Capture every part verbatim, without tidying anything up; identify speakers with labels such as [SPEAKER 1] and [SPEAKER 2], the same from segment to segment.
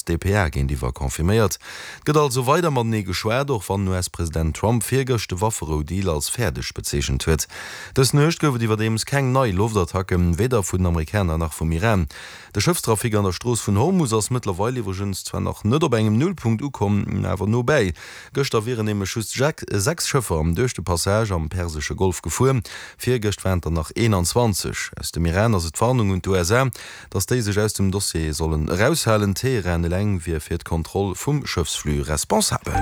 [SPEAKER 1] D P A géintiwwer confirméiert. Et gëtt also weider matenee geschwat, och wann den U S-President Trump virgëscht de Wafferou-Deal als fäerdeg bezeechent huet. Dës Nuecht gouf et iwwerdeems keng nei Loftattacken, weder vun den Amerikaner nach vum Iran. De Schëffstrafic an der Strooss vun Hormus ass mëttlerweil iwwregens zwar nach net op engem Nullpunkt ukomm, awer no bäi. Gëschter wieren nämlech just sechs Schëffer duerch de Passage am Persesche Golf gefuer, virgëscht waren et der nach eenanzwanzeg. Aus dem Iran ass et d'Warnung un d'U S A, datt déi sech aus dem Dossier sollen eraushalen. Teheran eleng wier fir d'Kontroll vum Schëffsflux responsabel.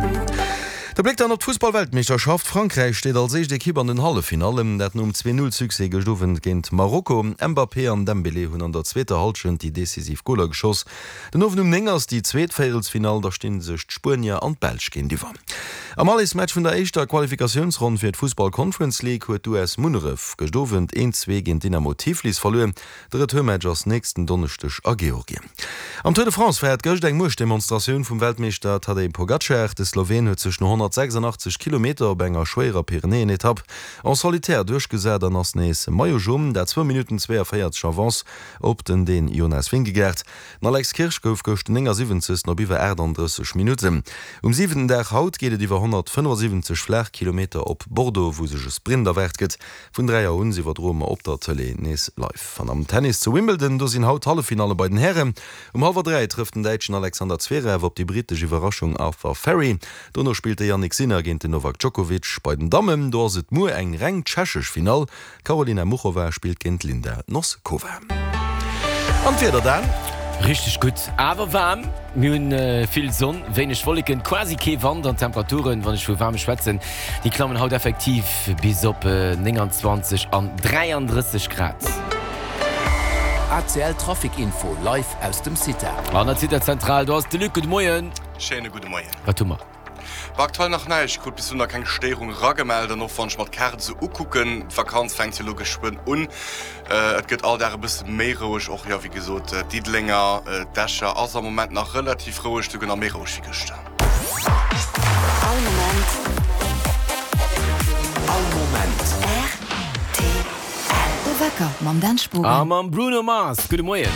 [SPEAKER 1] De Bléck dann op d'Fussball-Weltmeeschterschaft, Frankräich steet als éischt Ekipp an den Halleffinallen, dat nom zwee-Null-Succès gëscht Owend géint Marokko. Mbappé an Dembélé hunn an der zweeter Hallschent déi decisiv Goler geschoss. Den Owend um néng ass déi zweet Véierelsfinall, da sti sech d'Spuenier an d'Belsch géintiwwer. Am Allesmatch vun der éischter Qualifikatiounsronn fir d'Fussball-Conference League huet d'U S Munneref gëscht Owend eent zwee géint Dynamo Tiflis verluer. De Retourmatch ass nächsten Donneschdeg a Georgien. Am Tour de France war et gëscht eng Muechtdemonstratioun vum Weltmeeschter Tadej Pogacar. De Sloween huet sech no honnertsechsandachtzeg Kilometer op enger schwéierer Pyrenäen-Etapp en solitaire duerchgesat an ass nees Maillot Jaune, dat zwou Minutten zweeënvéierzeg Avance op den Dän Jonas Vingegaard. Den Alex Kirsch gouf gëscht néngasiwwenzegsten op iwwer aachtanddrësseg Minutten. Um siwenten Dag haut geet et iwwer honnertfënnefasiwwenzeg flaach Kilometer op Bordeaux, wou sech e Sprint erwaart gëtt. Vun dräi Auer un iwwerdroe mer op der Tëlee nees live. An am Tennis zu Wimbledon, do sinn haut d'Halleffinalle bei den Hären. Um hallwer dräi trëfft den Däitschen Alexander Zverev op déi brittesch Iwwerraschung Arthur Fery. Dono spillt de Jannik Sinner géint den Novak Djokovic. Bei den Dammen, do ass et muer eng reng tschechesch Finall. D'Karolina Muchova spillt géint d'Linda Noskova. An d'Wieder dann?
[SPEAKER 2] Richteg gutt, awer waarm. Mir hunn vill Sonn, wéineg Wolleken, quasi kee Wand an d'Temperaturen, wann ech vu waarm schwätzen, déi klammen haut effektiv bis op nénganzwanzeg an dräiandrësseg Grad.
[SPEAKER 3] A C L Trafic Info live aus dem CITA.
[SPEAKER 2] An der CITA Zentral, do ass de Luc. Gudde Moien.
[SPEAKER 4] Schéine gudde Moien.
[SPEAKER 2] Wat hu mer?
[SPEAKER 4] War aktuell nach näischt, krut bis elo nach keng Stéierung ragemellt an och wann ech mer d'Kaart esou ukucken, d'Vakanz fänkt jo elo geschwënn un, et gëtt all Dag e bësse méi roueg. Och jo, wéi gesot, Diddelenger, d'Escher ass am Moment nach relativ roueg, souguer nach méi roueg wéi gëschter.
[SPEAKER 5] All Moment.
[SPEAKER 3] All Moment.
[SPEAKER 5] R T L. De Wecker mam Dan Spogen.
[SPEAKER 2] A mam Bruno Mars. Gudde Moien.